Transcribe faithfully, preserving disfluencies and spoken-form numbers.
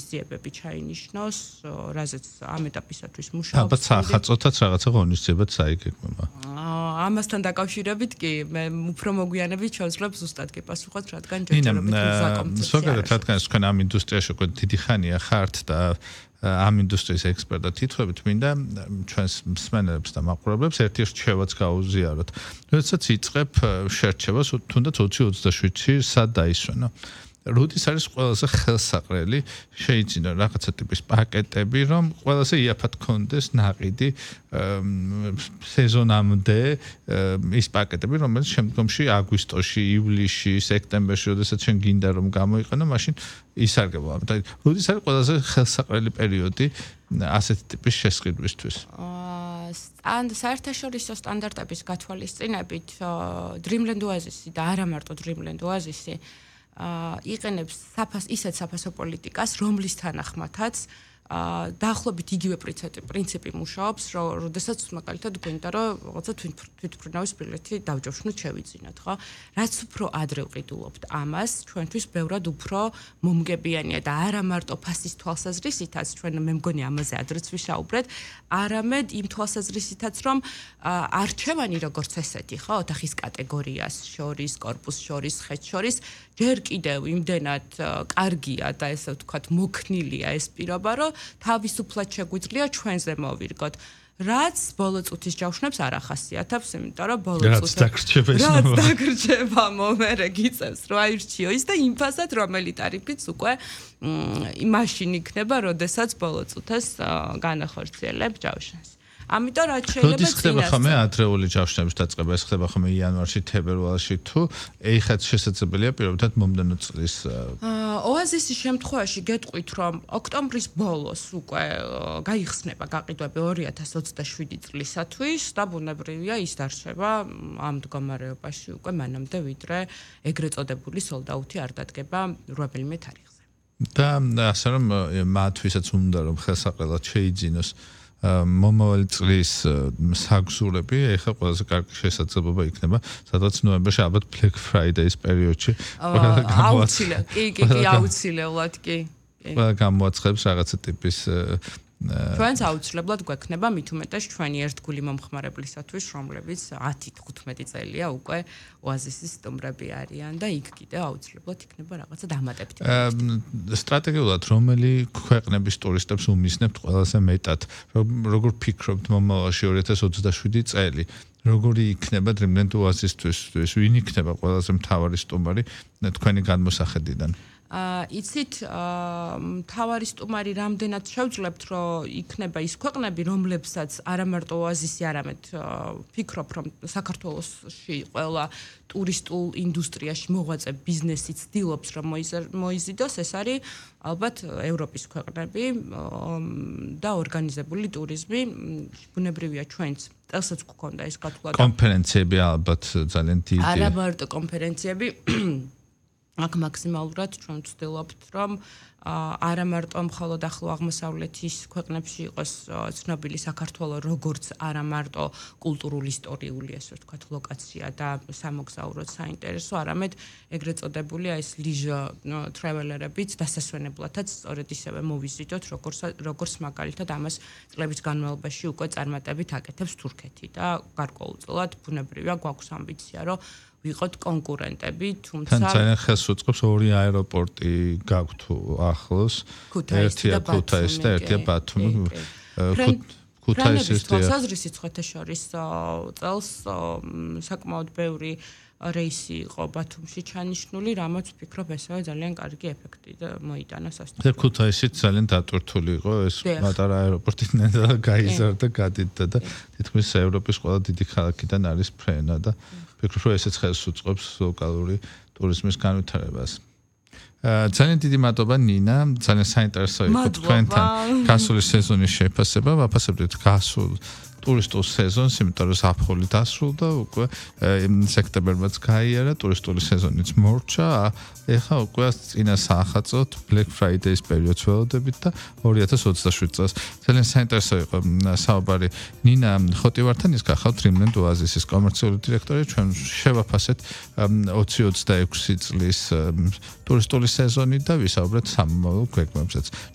ღონისძიებები ჩაინიშნოს, რაზეც ამ ეტაპისათვის მუშაობს. ალბათ სახაწოთაც რაღაცა ღონისძიებაც საიგეგმება. ამასთან დაკავშირებით კი მე უფრო მოგვიანებით შევძლებ ზუსტად კი პასუხოთ, რადგან ჯერჯერობით უსაკონცერტი. ზოგადად რადგან თქვენ ამ ინდუსტრიაში უკვე დიდი ხანია ხართ და ამ ინდუსტრიის ექსპერტად თითქოს მინდა ჩვენს მსმენელებს და მაყურებლებს ერთი რჩევაც გაუზიაროთ. როდესაც იწყებ შერჩევას თუნდაც ოცი ოცდაშვიდში სად დაისვენო. როდის არის ყველაზე ხელსაყრელი შეიძინა რაღაცა ტიპის პაკეტები, რომ ყველაზე იაფად გქონდეს ნაყიდი სეზონამდე ის პაკეტები, რომელიც შემდგომში აგვისტოში, ივლისში, სექტემბერში, როდესაც შენ გინდა რომ გამოიყენო, მაშინ ისარგებლო. და როდის არის ყველაზე ხელსაყრელი პერიოდი ასეთი ტიპის შესყიდვისთვის? ან საერთაშორისო სტანდარტების გათვალისწინებით Dreamland Oasis-ი და არა მარტო Dreamland Oasis-ი იყენებს საფას ისეთ საფასო პოლიტიკას, რომლის თანახმათაც დაახლოებით იგივე პრინციპი მუშაობს, როდესაც მაგალითად გვინდა რომ რაღაცა თვითმფრინავის ბილეთი დავჯავშნოთ შევიძინოთ, ხო? რაც უფრო ადრე ვყიდულობთ ამას, ჩვენთვის ბევრად უფრო მომგებიანია და არა მარტო ფასის თვალსაზრისითაც, ჩვენ მე მგონი ამაზე ადრეც ვისაუბრეთ, არამედ იმ თვალსაზრისითაც, რომ არჩევანი როგორც ესეთი, ხო, ოთახის კატეგორიას შორის, корпуს შორის, ხეთ შორის, ჯერ კიდევ იმდენად კარგია და ესე ვთქვათ, მოქნილია ეს პირობა, რომ თავისუფლად შეგვიძლია ჩვენზე მოვირგოთ. რაც ბოლო წუთის ჯავშნებს არ ახასიათებს, იმიტომ რომ ბოლო წუთი რაც დაგრჩება ის რაც დაგრჩება მომერე გიწევს რომ აირჩიო ის და იმ ფასად რომელი ტარიფიც უკვე მაშინ იქნება, როდესაც ბოლო წუთას განახორციელებ ჯავშნს. ამიტომ რაც შეიძლება როდის ხდება ხოლმე ადრეული ჯავშნების დაწყება, ეს ხდება ხოლმე იანვარში, თებერვალში თუ ეხაც შესაძლებელია პირობითად მომდენო წლის ოაზისის შემთხვევაში გეტყვით რომ ოქტომბრის ბოლოს უკვე გაიხსნება გაყიდვები ორი ათას ოცდაშვიდი წლისათვის და ბუნებრივია ის დარჩება ამ მდგომარეობაში უკვე მანამდე ვიდრე ეგრეთ წოდებული sold-out-ი არ დადგება რვაბელიმე თარიღზე. და ასე რომ მათთვისაც უნდა რომ ხელსაყრელად შეიძინოს მომავალი წლის საგზურები, ეხლა ყველაზე კარგი შესაძლებლობა იქნება, სადაც ნოემბერში ალბათ Black Friday-ის პერიოდში აუცილებლად, კი, კი, კი, აუცილებლად, კი. ყველა გამოაცხადებს რაღაცა ტიპის ჩვენს აუცილებლად გვექნება მით უმეტეს ჩვენი ერთგული მომხმარებლისათვის, რომლებიც ათი თხუთმეტი წელია უკვე ოაზისის სტუმრები არიან და იქ კიდე აუცილებლად იქნება რაღაცა დამატებითი. სტრატეგიულად რომელი ქვეყნების ტურისტებს უმისნებთ ყველაზე მეტად? როგორ ფიქრობთ მომავალში ორი ათას ოცდაშვიდი წელი? როგორი იქნება Dreamland Oasis-თვის? ვინ იქნება ყველაზე მთავარი სტუმარი თქვენი განმოსახედიდან? იცით მთავარი სტუმარი რამდენად შევძლებთ რომ იქნება ის ქვეყნები რომლებსაც არა მარტო ოაზისი არამედ ფიქრობ რომ საქართველოში ყველა ტურისტულ ინდუსტრიაში მოღვაწე ბიზნესი ცდილობს რომ მოიზიდოს ეს არის ალბათ ევროპის ქვეყნები და ორგანიზებული ტურიზმი ბუნებრივია ჩვენც წელსაც გვქონდა ეს გათვლა კონფერენციები ალბათ ძალიან დიდი არა მარტო კონფერენციები აქ მაქსიმალურად ჩვენ ვცდილობთ რომ არა მარტო მხოლოდ ახლო აღმოსავლეთის ქვეყნებში იყოს ცნობილი საქართველო როგორც არა მარტო კულტურული ისტორიული ესე ვთქვათ ლოკაცია და სამოგზაუროდ საინტერესო, არამედ ეგრეთ წოდებული ეს leisure traveler-ებიც დასასვენებლათაც სწორედ ისევე მოვიზიდოთ როგორც როგორც მაგალითად ამას წლების განმავლობაში უკვე წარმატებით აკეთებს თურქეთი და გარკვეულწილად ბუნებრივია გვაქვს ამბიცია რომ ვიყოთ კონკურენტები, თუმცა ძალიან ხელს უწყობს ორი აეროპორტი გაქვთ ახლოს, ერთია ქუთაისი და ერთია ბათუმი. ქუთაისის თვალსაზრისით ხეთაშორის წელს საკმაოდ ბევრი რეისი იყო ბათუმში ჩანიშნული, რამაც ვფიქრობ ესაა ძალიან კარგი ეფექტი და მოიტანა სასტუმრო. ქუთაისით ძალიან დატვირთული იყო ეს პატარა აეროპორტი და გაიზარდა, გადიდდა და თითქმის ევროპის ყველა დიდი ქალაქიდან არის ფრენა და ვფიქრობ, რომ ესეც ხელს უწყობს ლოკალური ტურიზმის განვითარებას. ძალიან დიდი მადლობა ნინა, ძალიან საინტერესო იყო თქვენთან გასული სეზონის შეფასება, ვაფასებდით გასულ ტურისტულ სეზონს, იმიტომ რომ ზაფხული დასრულდა, უკვე სექტემბერმაც გაიარა, ტურისტული სეზონიც მორჩა, ეხლა უკვე წინა საახალწლოდ Black Friday-ის პერიოდს ველოდებით და ორი ათას ოცდაშვიდ წელს. ძალიან საინტერესო იყო საუბარი ნინა ხოტივართან, ის გახავთ Dreamland Oasis-ის კომერციული დირექტორი, ჩვენ შევაფასეთ ოცი ოცდაექვსი წლის ტურისტული სეზონი და ვისაუბრეთ სამომავლო ქვეყნებსაც.